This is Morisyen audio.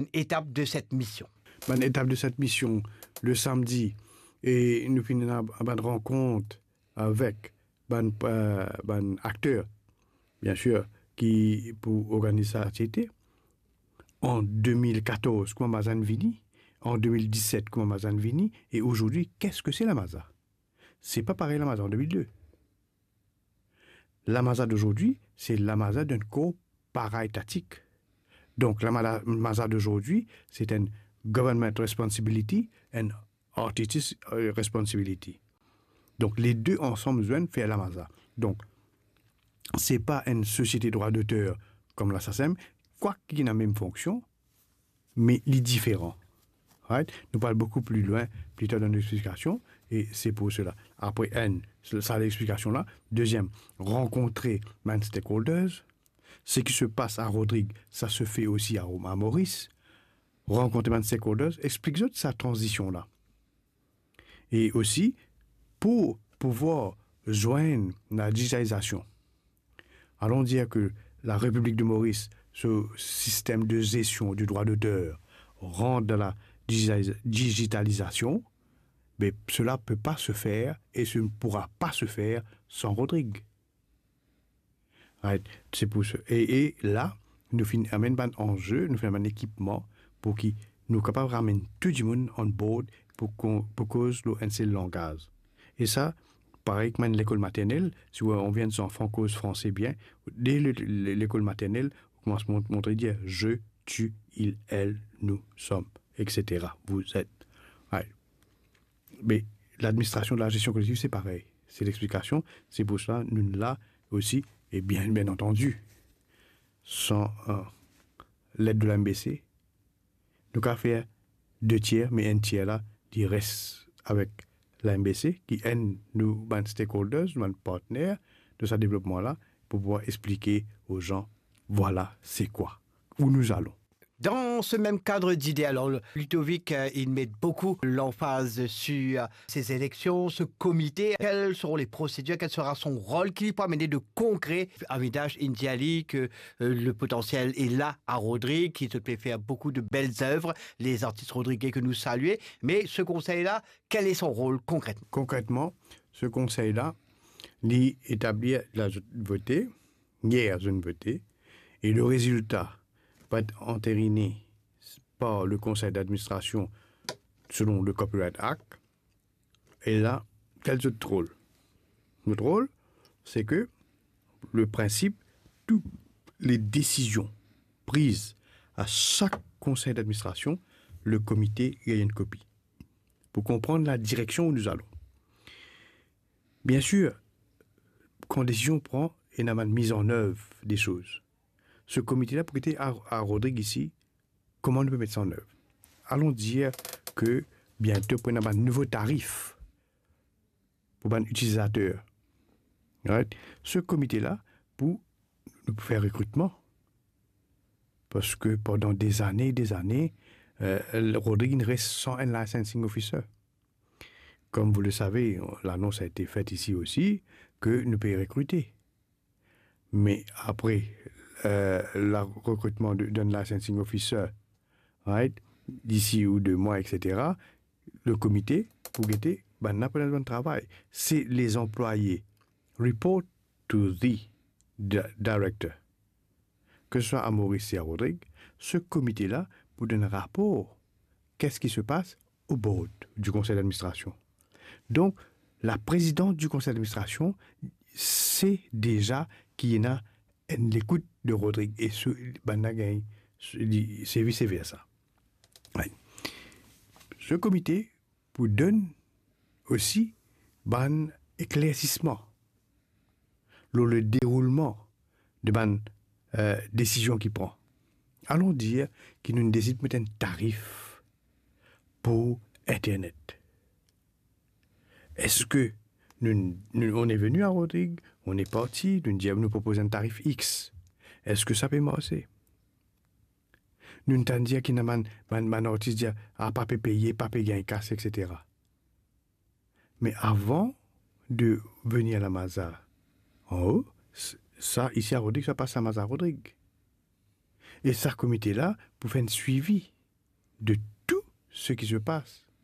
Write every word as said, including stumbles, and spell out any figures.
une étape de cette mission. Bann etap de set mision, le samedi, e nou finn ena bann rankont avek bann, euh, bann akter, bien sûr, ki pou organiz sa aktivite. An deux mille quatorze, kouma Mazane vini, an deux mille dix-sept, kouma Mazane vini, e azordi, qu'est-ce que c'est la Maza? C'est pas pareil la Maza en deux mille deux. La Maza d'aujourd'hui, c'est la Maza d'un corps paraétatique. Donc, la Mala-, Maza d'aujourd'hui, c'est un government responsibility and artist, euh, responsibility. Donc, les deux ensemble viennent faire la Maza. Donc, c'est pas une société droit d'auteur comme la SACEM, quoique il a la même fonction, me li diferan. Right? Nou pral boukou pli lwin, pli tar dan lexplikasion, e se pou sela. Apre, enn, sa lexplikasion la. Deziem, rankontre bann stakeholders. Ce qui se passe à Rodrigue, ça se fait aussi à, à Maurice. Rankontre bann stakeholders, explik zot sa tranzision la. E osi, pou pouvwar zwenn la digitalizasion. Allons dire que la République de Maurice, ce système de gestion du droit d'auteur, rentre dans la digitali-, digitalisation, mais cela peut pas se faire et ce ne pourra pas se faire sans Rodrigue. Right? Se pou sa. E, e la, nou finn amenn bann anze, nou finn amenn ekipman pou ki nou kapav ramenn tou dimoun on board pou kon-, pou koz lor enn sel langaz. E sa, parey kouma enn lekol maternel, si ou anvi enn zanfan koz franse bien, de le, le, lekol maternel, ou koumans mont-, montre dir je, tu, il, elle, nous, sommes, et cetera, vous êtes. Right? Me ladministrasion de la gestion collective, se parey. Se lexplikasion, se pou sa nou la osi, e bien, bien antandi, san, euh, led de la M B C, nou kapav fer de tier, me enn tier la, li res avek la M B C, ki enn nou bann stakeholders, nou bann partner de sa devlopman la, pou pouvwar explike o zan, vwala se kwa, où nous allons. Dans ce même cadre d'idées, alors, Ludovic, euh, il met beaucoup l'emphase sur, euh, ces élections, ce comité. Quelles seront les procédures, quel sera son rôle, ki li pou amenn de konkre? Avidas inn dir li ke, euh, le potentiel est là à Rodrigue, ki zot pe fer beaucoup de belles œuvres, les artistes rodriguais que nous saluons. Mais ce conseil-là, quel est son rôle concrètement? Konkretman, se konsey la, li etabli, la vote, yer zot inn vote, e le rezilta va et anterine par le konsey d'administrasion selon le Copyright Act. E la, kel zot rol? Zot rol, se ke le prinsip, tou le desizion priz a sak konsey d'administrasion, le komite gagn enn kopi pou konpran la direksion où nous allons. Bien sûr, kan desizion pran, ena bann miz an ev de soz. Se komite la pou gete a, a Rodrigue isi, kouma nou pe met sa an ev. Allons dire ke biento pou ena bann nouvo tarif pou bann itilizater. Right? Se komite la pou nou fer rekritman. Parski pandan de zane, de zane, euh, Rodrigue inn res san enn licensing officer. Comme vous le savez, l'annonce a été faite ici aussi, ke nou pe rekrite. Me apre, euh, la rekritman de, d'un licensing officer, right, d'ici ou de mwa, et cetera, le komite pou gete bann la pou ena bann travay. Se les employés report to the di-, director. Ke se swa a Maurice e a Rodrigue, se komite la pou donn rapor, qu'est-ce qui se passe au board du conseil d'administration. Donk, la présidente du conseil d'administration, se deza ki ena enn lekout de Rodrigue e se, bann la gagn, se, li, se vice versa. Right. Se komite pou donn osi bann eklersisman lor le deroulman de bann, euh, desizion ki pran. Allons dire ki nou desid met enn tarif pou internet. Eski nou, nou, on est venu à Rodrigue, on est parti, nou dir, nou propoz enn tarif X. Eski sa pe marse? Nou tann dir ki ena bann, bann, bann artis dir, ah, pa pe peye, pa pe gagn kas, et cetera. Me avan de venir la Maza anlo, s-, sa isi a Rodrigue, sa pas la Maza Rodrigue. E sa komite la pou fer enn swivi de tou seki se pas.